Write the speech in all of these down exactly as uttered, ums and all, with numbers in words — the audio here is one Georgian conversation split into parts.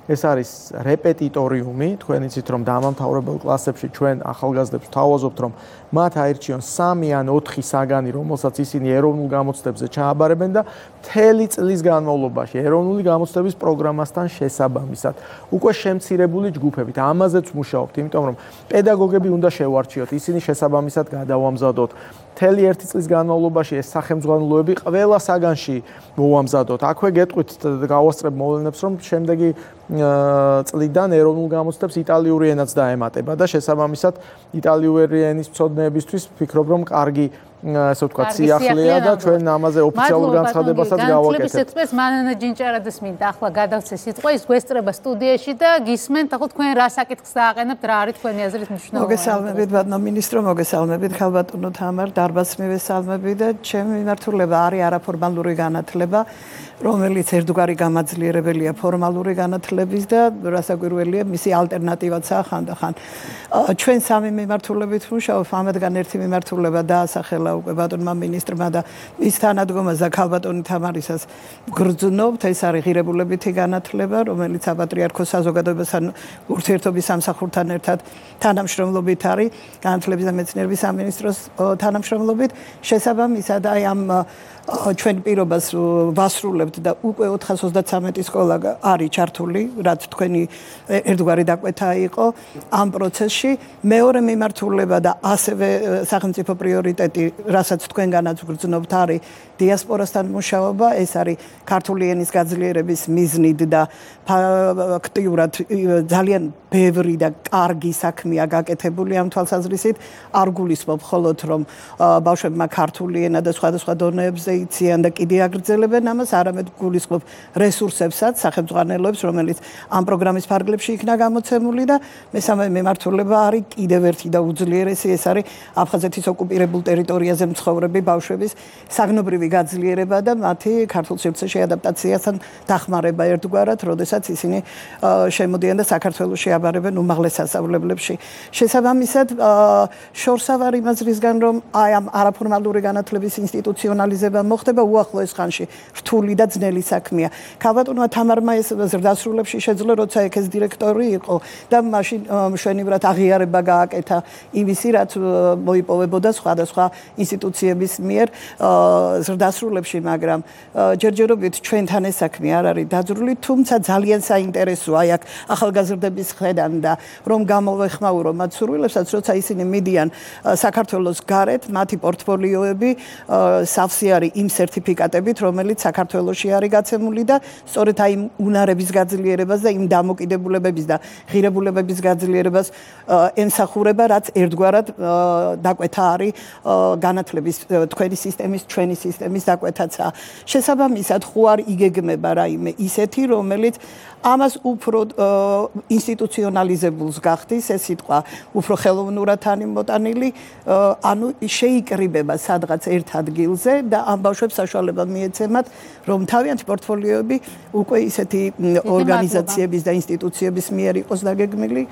ეს არის რეპეტიტორიუმი, თქვენ იცით რომ დამამთავრებელ კლასებში ჩვენ ახალგაზრდებს ვთავაზობთ რომ მათ აირჩიონ სამი ან ოთხი საგანი, რომელსაც ისინი ეროვნულ გამოცდებზე ჩააბარებენ და მთელი წლის განმავლობაში ეროვნული გამოცდების პროგრამასთან შესაბამისად უკვე შემცირებული ჯგუფებით ამაზეც მუშაობთ, იმიტომ რომ პედაგოგები უნდა შევარჩიოთ, ისინი შესაბამისად გადავამზადოთ. მთელი ერთი წლის განმავლობაში ეს სახელმძღვანელოები ყველა საგანში მოვამზადოთ. აქვე გეტყვით გავასწრებ მოვლენებს, რომ შემდეგი წლიდან ეროვნულ გამოცდებს იტალიური ენაც დაემატება და შესაბამისად იტალიური ენის მცოდნეებისთვის ვფიქრობ, რომ კარგი ასე ვთქვათ, სიახლეა და ჩვენ ამაზე ოფიციალურ განცხადებასაც გავაკეთებთ. განათლების ექსპერტს მანანა ჯინჭარაძეს მინდა ახლა გადავცე სიტყვა, ის გვესწრება სტუდიაში და გისმენთ, ახლა თქვენ რა საკითხს დააყენებთ, რა არის თქვენი აზრით მნიშვნელოვანი? მოგესალმებით, ბატონო მინისტრო, მოგესალმებით, ხალბატონო თამარ, დარბაზს მივესალმები და ჩემი მიმართულება არის არაფორმალური განათლება, რომელიც ერთგვარი გამაძლიერებელია ფორმალური განათლების და რასაკვირველია, მისი ალტერნატივაცაა ხანდახან. ჩვენ სამი მიმართულებით ვმუშაობთ, ამათგან ერთი მიმართულება დაასახელა უკვე ბატონმა მინისტრმა და მის თანადგომას და ხალბატონი თამარისას გრძნობთ, ეს არის ღირებულებითი განათლება, რომელიც საპატრიარქოს საზოგადოებასთან ურთიერთობის სამსახურთან ერთად თანამშრომლობით არის, განათლების და მეცნიერების სამინისტროს თანამშრომლობით, შესაბამისად აი ამ ჩვენ პირობას ვასრულებთ და უკვე ოთხას ოცდათსამეტი სკოლა არის ჩართული, რაც თქვენი ერთგვარი დაკვეთა იყო ამ პროცესში. მეორე მიმართულება და ასევე სახელმწიფო პრიორიტეტი, რასაც თქვენგანაც გრძნობთ, არის დიასპორასთან მუშაობა, ეს არის ქართული ენის გაძლიერების მიზნით და ფაქტიურად ძალიან ბევრი და კარგი საქმეა გაკეთებული ამ თვალსაზრისით. არ გულისხმობ მხოლოდ რომ ბავშვებმა ქართული ენა და სხვადასხვა დონეებზე იციან და კიდე აგრძელებენ ამას, არამედ გულისხმობ რესურსებსაც, სახელმძღვანელოებს, რომელიც ამ პროგრამის ფარგლებში იქნა გამოცემული და მესამე მიმართულება არის კიდევ ერთი და უძლიერესი, ეს არის აფხაზეთის ოკუპირებულ ტერიტორიაზე მცხოვრები ბავშვების საგნობრივი გაძლიერება და მათი ქართულ სივრცეში ადაპტაციასთან დახმარება ერთგვარად, როდესაც ისინი შემოდიან და საქართველოში აბარებენ უმაღლეს სასწავლებლებში. შესაბამისად, შორსა ვარ იმაზრისგან, რომ აი ამ არაფორმალური განათლების ინსტიტუციონალიზება მოხდება უახლოეს ხანში, რთული და ძნელი საქმეა. ქალბატონმა თამარმა ეს ზრდასრულებში შეძლო, როცა ეკეს დირექტორი იყო და მაშინ მშვენივრად აღიარება გააკეთა იმისი, რაც მოიპოვებოდა სხვადასხვა ინსტიტუციების მიერ ზრდასრულებში, მაგრამ ჯერჯერობით ჩვენთან ეს საქმე არ არის დაძრული, თუმცა ძალიან საინტერესოა აი აქ ახალგაზრდების ხედან და რომ გამოვეხმაურო მათ სურვილებსაც, როცა ისინი მიდიან საქართველოს გარეთ, მათი პორტფოლიოები სავსე არის იმ სერტიფიკატებით, რომელიც საქართველოში არის გაცემული და სწორედ აი უნარების გაძლიერებას და იმ დამოკიდებულებების და ღირებულებების გაძლიერებას ემსახურება, რაც ერთგვარად დაკვეთა არის განათლების თქვენი სისტემის, ჩვენი სისტემის დაკვეთაცაა. შესაბამისად, ხო არ იგეგმება რაიმე ისეთი, რომელიც ამას უფრო ინსტიტუციონალიზებულს გახდის, ეს სიტყვა უფრო ხელოვნურად არის მოტანილი, ანუ შეიკრიბება სადღაც ერთ ადგილზე და ამ ბავშვებს საშუალება მიეცემათ, რომ თავიანთი პორტფოლიოები უკვე ისეთი ორგანიზაციების და ინსტიტუციების მიერ იყოს დაგეგმილი.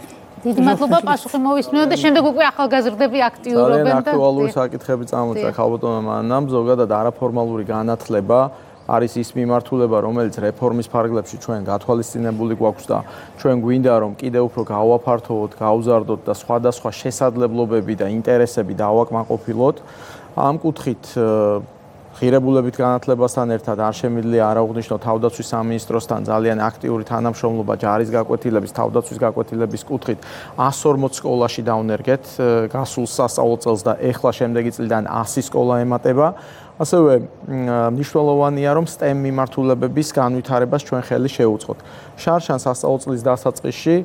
დიდი მადლობა, პასუხი მოვისმინოთ და შემდეგ უკვე ახალგაზრდები აქტიურობენ და აქტუალური საკითხები წამოწა ხალბატონმა მანამ, ზოგადად არაფორმალური განათლება არის ის მიმართულება, რომელიც რეფორმის ფარგლებში ჩვენ გათვალისწინებული გვაქვს და ჩვენ გვინდა რომ კიდევ უფრო გავაფართოვოთ, გავზარდოთ და სხვადასხვა შესაძლებლობები და ინტერესები დავაკმაყოფილოთ. ამ კუთხით ღირებულებით განათლებასთან ერთად არ შემიძლია არ აღვნიშნო თავდაცვის სამინისტროსთან ძალიან აქტიური თანამშრომლობა ჯარის გაკვეთილების, თავდაცვის გაკვეთილების კუთხით εκατს ორმოც სკოლაში დავნერგეთ გასულ სასწავლო წელს და ეხლა შემდეგი წლიდან ასი სკოლა ემატება. ასევე მნიშვნელოვანია, რომ STEM მიმართულებების განვითარებას ჩვენ ხელი შევუწყოთ. შარშან სასწავლო წლის დასაწყისში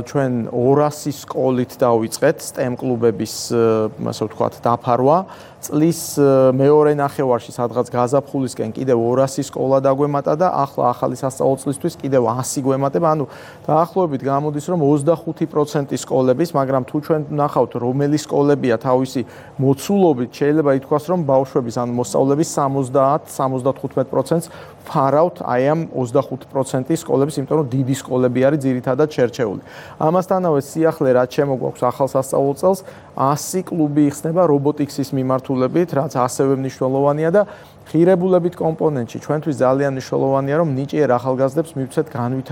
ჩვენ ორასი სკოლით დავიწყეთ STEM კლუბების, ასე ვთქვათ, დაფარვა. წლის მეორე ნახევარში სადღაც გაზაფხულისკენ კიდევ ორასი სკოლა დაგვემატა და ახლა ახალი სასწავლო წლისთვის კიდევ ასი გვემატება. ანუ დაახლოებით გამოდის, რომ ოცდახუთი პროცენტი სკოლების, მაგრამ თუ ჩვენ ნახავთ, რომელი სკოლებია თავისი მოცულობით, შეიძლება ითქვას, რომ ბავშვების ან მოსწავლების სამოცდაათ სამოცდათხუთმეტ პროცენტს ფარავთ აი ამ ოცდახუთი პროცენტი სკოლების, იმიტომ რომ დიდი სკოლები არის ძირითადად შერჩეული. დაკავებული. ამასთანავე სიახლე რაც შემოგვაქვს ახალ სასწავლო წელს ასი კლუბი იხსნება რობოტიქსის მიმართულებით, რაც ასევე მნიშვნელოვანია და ღირებულებით კომპონენტში ჩვენთვის ძალიან მნიშვნელოვანია რომ ნიჭიერ ახალგაზრდებს მივცეთ განვითარებაში